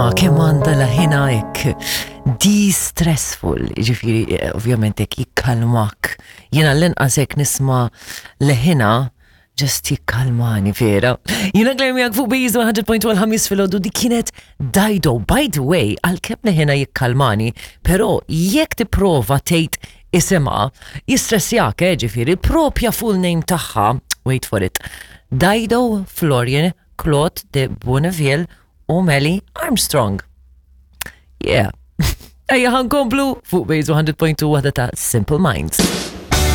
Isma' kemm għandha leħinha hekk de-stressful, jiġifieri eh, ovvjament hekk jikkalmak. Jiena l-inqas hekk nisma' leħinha just jikkalmani vera. Jiena Claire miegħek fuq Base 100.1 ħamis filgħodu di kienet Dido. By the way, għalkemm leħinha jikkalmani, però jekk tipprova tgħid isimha, jistressjak, eh, ġifieri, il-propja full name tagħha, wait for it, Dido Florian Claude de Bonneville u Melly Armstrong. Yeah. Ejja ħankomplu fuq Base 100.2 waħda ta' Simple Minds.